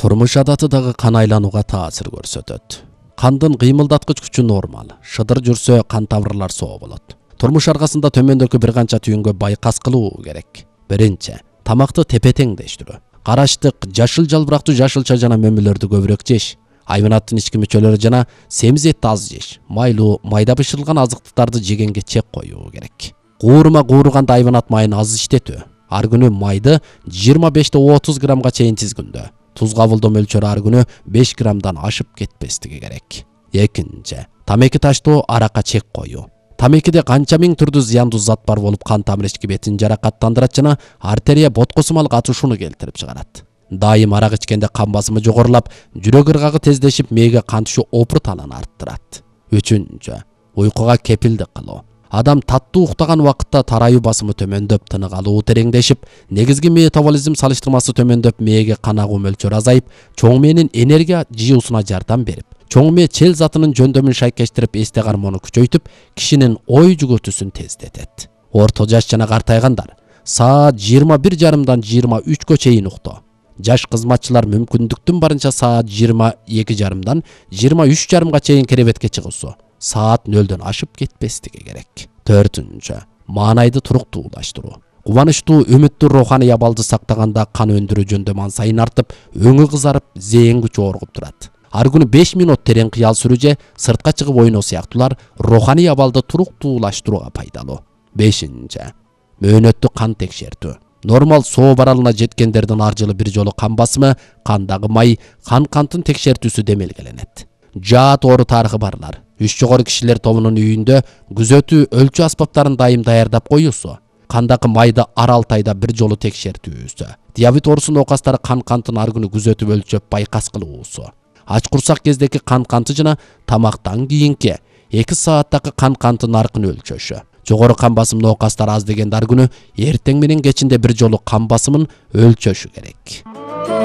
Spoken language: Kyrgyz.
Турмуш адаты дагы кан айланууга таасир көрсөтөт. Кандын кыймылдаткыч күчү нормал. Шыдыр жүрсө кан тамырлар соо болот. Турмуш аркасында төмөндөгү бир канча түйүнгө байкас кылуу керек. Биринчи, тамакты тепе-теңдештирүү. Караштык, жашыл жалбырактуу жашылча жана мөмөлөрдү көбүрөөк жеш. Айванаттын ички мүчөлөрү жана семиз этти аз жеш. Майлуу, майда бышырылган азыктыктарды жегенге чек коюу керек. Куурма кууруганда айванат майын аз иштетүү. Ар күнү майды 25-30 граммга чейин тизгүндө. Туз кабылдоо мөлчөрү ар күнү 5 граммдан ашып кетпестиги керек. Экинчи, тамеки таштоо, аракка чек коюу. Тамекиде канча миң түрдүү зыяндуу зат бар болуп, кан тамыр ички бетин жаракаттандырат жана артерия боткосумал катышууну келтирип чыгарат. Дайым арак ичкенде кан басымы жогорулап, жүрөк ыргагы тездешип, мээге кан түшүү опуртанын арттырат. Үчүнчү, уйкуга кепилдик кылуу. Адам таттуу уктаган убакытта тараюу басымы төмөндөп, тынык алуу тереңдешип, негизги метаболизм салыштырмасы төмөндөп, мээге кан агуу мөлчөрү азайып, чоң мээнин энергия жыюусуна жардам берип, чоң мээ чел затынын жөндөмүн шайкештирип, эсте кармоону күчөйтүп, кишинин ой жүгөтүүсүн тездетет. Орто жаш жана картайгандар саат 21:30дан 23-кө чейин уктоо. Жаш кызматчылар мүмкүндүктүн барынча саат 22:30дан 23:30га чейин керебетке чыгуусу. Саат 0-дөн ашып кетпестиги керек. Төртүнчү, маанайды туруктуулаштыруу. Кубанычтуу, үмүттүү руханий абалды сактаганда кан өндүрүү жөндөмү сайын артып, өңү кызарып, зээн күчү оргуп турат. Ар күнү 5 минут терең кыял сүрүү же сыртка чыгып ойноо сыяктуулар руханий абалды туруктуулаштырууга пайдалуу. Бешинчи, мөөнөттү кан текшертүү. Нормал соо баралына жеткендердин ар жылы бир жолу кан басымы, кандагы май, кантын текшертүүсү демелгеленет. Жаат оору тарыхы барлар. Үч жогору кишилер тобунун үйүндө күзөтүү өлчү аспаптарын дайым даярдап коюусу. Кандагы майды ар 6 айда бир жолу текшертүүсү. Диабет оорусу оокастары кантын ар күнү күзөтүп өлчөп байкас кылуусу. Ач курсак кездеги канты жана тамактан кийинки 2 сааттагы канты наркын өлчөшү. Жогору кан басым оокастары аз дегенде ар күнү эртең менен кечинде бир жолу кан басымын өлчөшү керек.